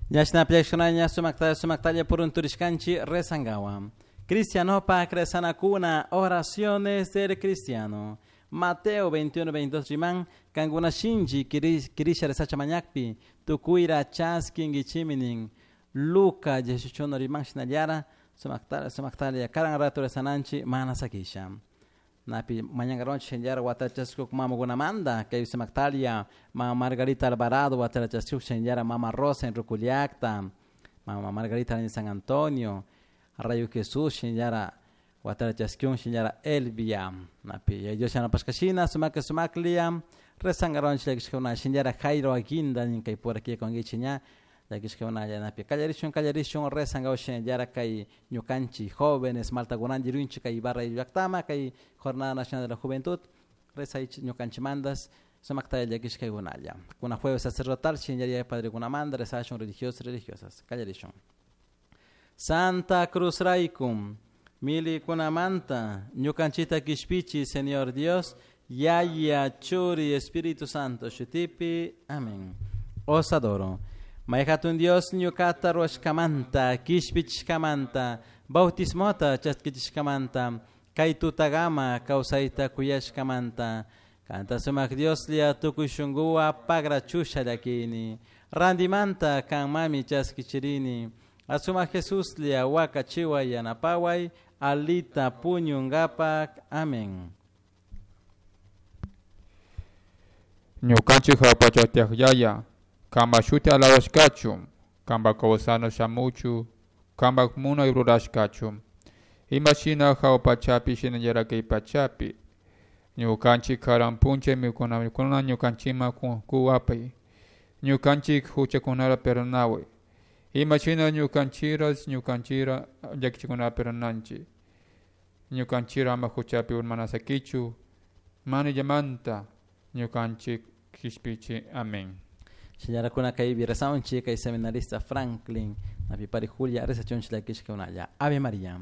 Ñashna pillashkunaña sumaktalla sumaktalla purunturishkanchi rezangawa. Cristianopak rezanakuna, oraciones del cristiano. Mateo 21, 22 riman, kankuna shinchi kirisha rezacha mañakpi, tukuyra chaskinkichiminin. Luca 18 riman shinallara, sumaktalla sumaktalla karan rato rezananchi mana sakisha. Napi mañangaronchi shinallara watachashkuk mamakunamanta, kay sumaktalla mama Margarita Alvarado watachashkuk shinallara mama Rosa en Ruculiacta, mama Margarita en San Antonio, Rayo Jesús shinallara watachashkun shinallara Elvia. Napi Dios yanapashkashina sumaka sumaklia rezangaronchi llakishkuna shinallara Jairo Aguinda nin kay pura kikonkichik ña llakishkuna napi kallarishun kallarishun rezangaw shinallara kay ñukanchik jóvenes maltakunanchik rinchik kay Ibarra llaktama kay Jornada Nacional de la Juventud rezaychik ñukanchikmantas sumaktalla llakishkaykunalla. Kuna jueves sacerdotal shinallara padrekunamanta rezashun religiosos religiosas kallarishun. Santa Cruz Raikum, milikunamanta ñukanchikta kishpichi Señor Dios, Yaya, Churi, Espíritu Santo, shutipi, amén. Os adoro. Mayhatun Dios ñukata ruwashkamanta, kishpichishkamanta, bautismota chaskichishkamanta, kay tutagama kawsayta kuyashkamanta, kanta sumak Dioslla tukuy shunkuwa pagrachusha llakini, randimanta kanmami chaskichirini, asumak Jesuslla wakachiway yanapaway, alita puñunkapak. Amén. Ñukanchik jawpa tiyak yaya, kanpak shuti alabashkachun, kanpak kawsana shamuchu, kanpak munay rurashkachun. Imashina jahua pachapi shinallara kay pachapi. Ñukanchik karan puncha mikuna ñukanchikman kuwapay. Ñukanchik huchakunata perdonaway. Imashina ñukanchikras ñukanchikra llakichikunata perdonanchik. Ñukanchikra ama huchapi urmanasakichu, manillamanta ñukanchik kishpichi. Amén. Shinallara kaypi rezanchik kay seminarista Franklin, napi pari Julia rezachunchik llakishkakunalla. Ave María.